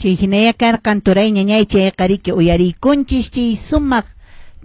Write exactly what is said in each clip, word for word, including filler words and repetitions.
Chay hinaya karqan turay ñañay chayqa riki uyarikunchis chay sumaq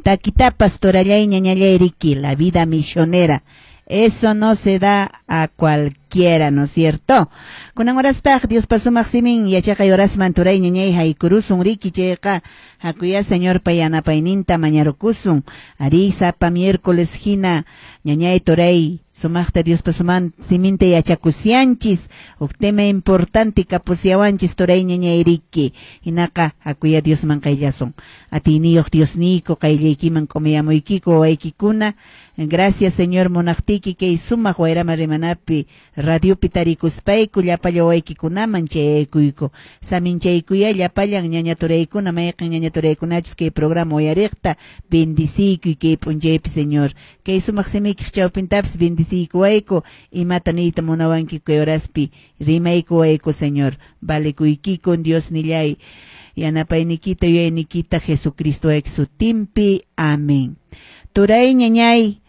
takitapas turallay ñañallay riki la vida misionera. Eso no se da a cualquiera, ¿no es cierto? Kunan horastaq Diospa sumaq simin yachaqay horasman turay ñañay haykurusun riki chayqa hakuya Señorpa yanapayninta mañarukusun. Ari sapa miércoles hina ñañay turay sumaqta Diospa suman siminta yachakusyanchis huk tema importante kapusiawanchis turay ñañay riki hinaqa hakuya Diosman qayllasun. Atiyniyuq Diosniyku qayllaykiman k'umiyamuykiku wawaykikuna. Gracias Señor munaqtiyki kay sumaq wayrama rimanapi radiopi tarikuspayku llapalla wawaykikunaman chayaykuyku. Saminchaykuya llapallan ñaña turaykuna mayqin ñaña turaykunachus kay programa uyariqta bendiciykuy kay p'unchaypi Señor. Kay sumaq simiykiq chawpintapis bendiciykuwayku imata niyta munawanki kay horaspi rimaykuwayku Señor. Valekuykikun Dios nillay yanapaynikita yuyaynikita Jesucristo sutinpi. Amén. Turay ñañay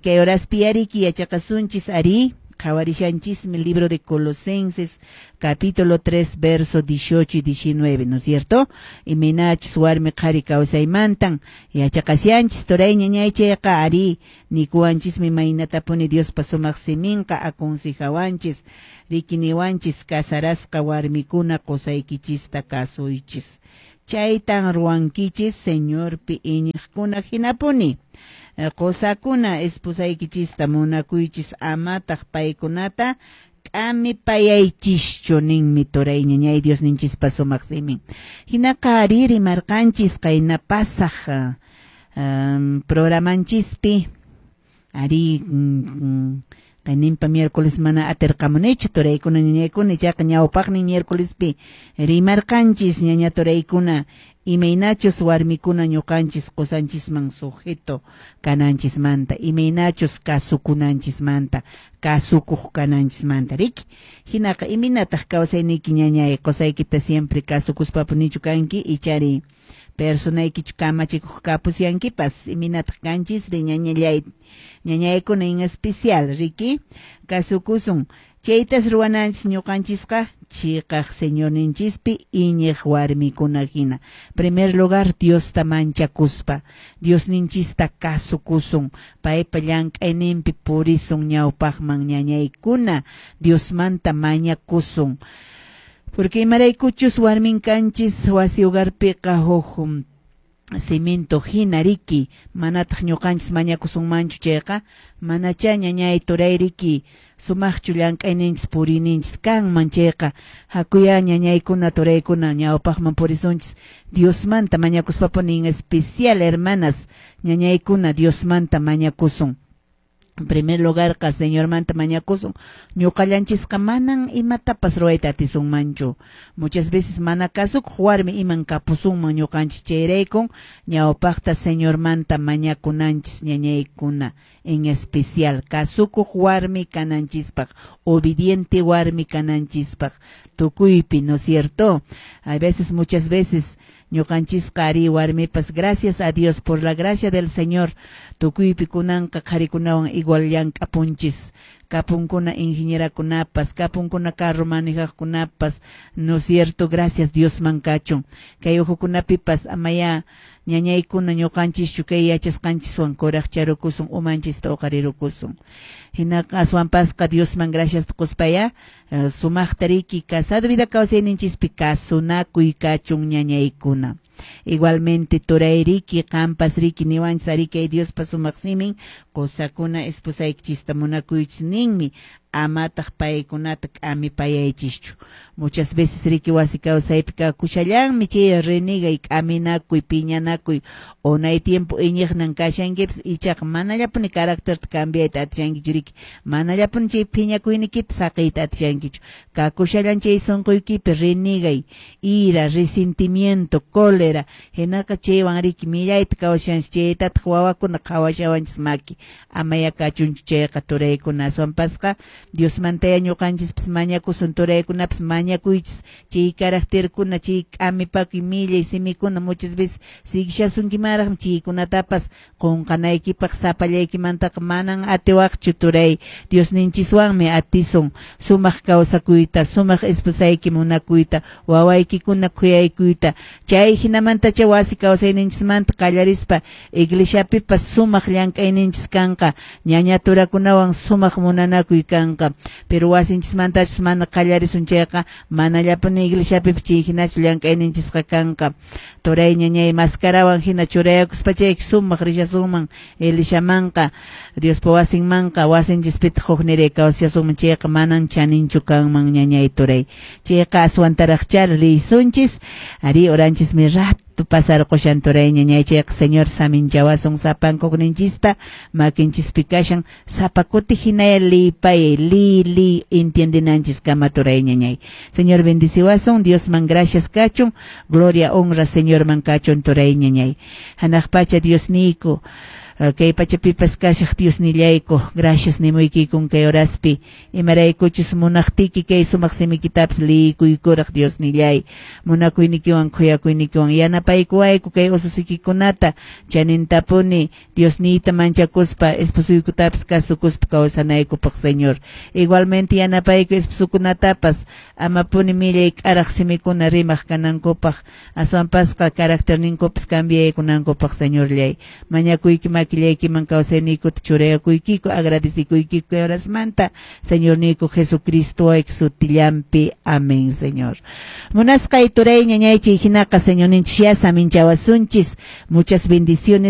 kay horaspi ariki yachaqasunchis ari qhawarishanchismi libro de Colosenses capítulo tres verso dieciocho y diecinueve, ¿no es cierto? Imaynachus warmi qhari kawsaymantan yachaqashanchis turay ñañay chayqa ari nikuwanchismi maynatapuni Diospa sumaq siminqa aconsejawanchis rikiniwanchis casarasqa warmikuna qusaykichista kasuychis. Chaytan ruwankichis Señorpi iñiqkuna hinapuni. Qusakuna esposaykichista munakuychis amataq paykunata k'amipayaychischu ninmi turay ñañay Dios ninchispa sumaq simin. Hinaqa ari rimarqanchis qayna pasaq um, programanchispi ari mm, qayninpa miércoles mana atirqamunichu turaykuna ñañaykuna ichaqa ñawpaqnin miércolespi rimarqanchis ñaña turaykuna imaynachus warmikuna ñuqanchis qusanchisman sujeto kananchismanta imaynachus kasukunanchismanta kasukuq kananchismanta riki hinaqa imaynataq kawsayniyki ñañay qusaykita siempre kasukuspapunichu kanki ichari personaykichu kamachikuq kapusyankipas imaynataq kanchis ri ñañallay ñañaykuna en especial riki kasukusun chaytas ruwananchis ñuqanchisqa chiqaq Señorninchispi iñiq warmikuna hina. Primer lugar Diosta manchakuspa Diosninchista kasukusun paypa llank'ayninpi purisun ñawpaqman ñañaykuna Diosmanta mañakusun. Porque imaraykuchus warmin kanchis wasi hogarpiqa huk cemento hina riki manataq ñuqanchis mañakusunmanchu chayqa manachá ñañay turay riki sumaqchu llank'ayninchis puriyninchis kanman chayqa hakuya ñañaykuna turaykuna ñawpaqman purisunchis Diosmanta mañakuspapuni en especial hermanas ñañaykuna Diosmanta mañakusun. En primer lugar, qa Señormanta mañakusun ñuqallanchisqa manan imatapas ruwayta atisunmanchu. Muchas veces mana kasukuq warmi iman kapusunman ñuqanchis chayraykun ñawpaqta Señormanta mañakunanchis ñañaykuna en especial kasukuq warmi kananchispaq obediente warmi kananchispaq tukuypi, ¿no es cierto? A veces, muchas veces ñuqanchisqa ari warmipas gracias a Dios por la gracia del Señor tukuypi kunanqa qharikunawan igual llank'apunchis kapunkuna ingenierakunapas kapunkuna carro manejaqkunapas, ¿no es cierto? Gracias Diosman kachun kay uhukunapipas amaya ñañaykuna ñuqanchischu kay yachasqanchiswan kuraqcharukusun umanchista uqarirukusun hinaqa aswanpasqa Diosman gracias quspaya sumaqta riki casado vida kawsayninchispi kasunakuy kachun ñañaykuna. Igualmente turay riki qampas riki niwanchis ari kay Diospa sumaq simin qusakuna esposaykichista munakuychis ninmi amataq paykunata k'amipayaychischu. Muchas veces riki wasi kawsaypi kakushallanmi chay renegay k'aminakuy piñanakuy unay tiempo iñiqnan kashankipas ichaqa manallapuni carácterta cambiayta atishankichu riki manallapuni chay phiñakuynikita saqiyta atishankichu kakushallan chay sunquykipi renegay ira resentimiento cólera hinaqa chaywan riki millayta kawshanchis chaytataq wawakuna qhawashawanchis maki amaya kachunchu chayqa turaykuna aswanpasqa Diosmantaya ñuqanchispas mañakusun, turaykunapas mañakuychis, chay caracterkuna, chay k'amipakuy millay simikuna muchas veces siguishasunkimanraqmi, chaykunatapas qunqanaykipaq sapallaykimantaqa manan atiwaqchu, turay. Diosninchiswanmi atisun sumaq kawsakuyta, sumaq esposayki munakuyta, wawaykikuna khuyaykuyta. Chay hinamantacha wasi kawsayninchismanta qallarispa iglesiapipas sumaq llank'ayninchis kanqa, ñaña turakunawan sumaq munanakuy kanqa. Pero wasinchismantachus mana qallarisun chayqa, manallapuni iglesiapipas chay hinachu llank'ayninchisqa kanqa. Turay, ñañay, mascarawan hina churayakuspa chayki sumaq rishasunman iglesiamanqa, Diospa wasinmanqa, wasinchispitaq hukniray kawsashasunman chayqa manan chaninchu kanman, ñañay, turay. Chayqa aswantaraqcha liysunchis, ari oranchismi rato pasarqushan, turay, ñañay. Chayqa Señor saminchawasun sapankukninchista, makinchispi kashan. Sapa kuti hinaya liypayay, liy liy entiendinanchis kama, turay, ñañay. Señor bendiciwasun. Diosman gracias kachun, gloria, honra Señorman kachun, turay, ñañay. Hanaq pacha Diosniyku, kay pachapipas kashaq Diosnillayku, gracias nimuykikun kay horaspi, imaraykuchus munaqtiki kay sumaq simikitapas liykuykuraq. Diosnillay, munakuynikiwan khuyakuynikiwan yanapaykuwayku kay ususikikunata chanintapuni Diosniyta manchakuspa esposuykutapas kasukuspa kawsanaykupaq. Señor, igualmente yanapayku esposukunatapas amapuni millay k'araq simikuna rimaq kanankupaq, aswanpasqa caracterninkupas cambiaykunankupaq. Señorllay, mañakuyki, makillaykiman kawsayniykuta churayakuykiku, agradecikuykiku kay horasmanta, Señorniyku Jesucristo sutillampi. Amén, Señor. Munasqay turay, ñañay, chay hinaqa Señorninchis ya saminchawasunchis. Muchas bendiciones.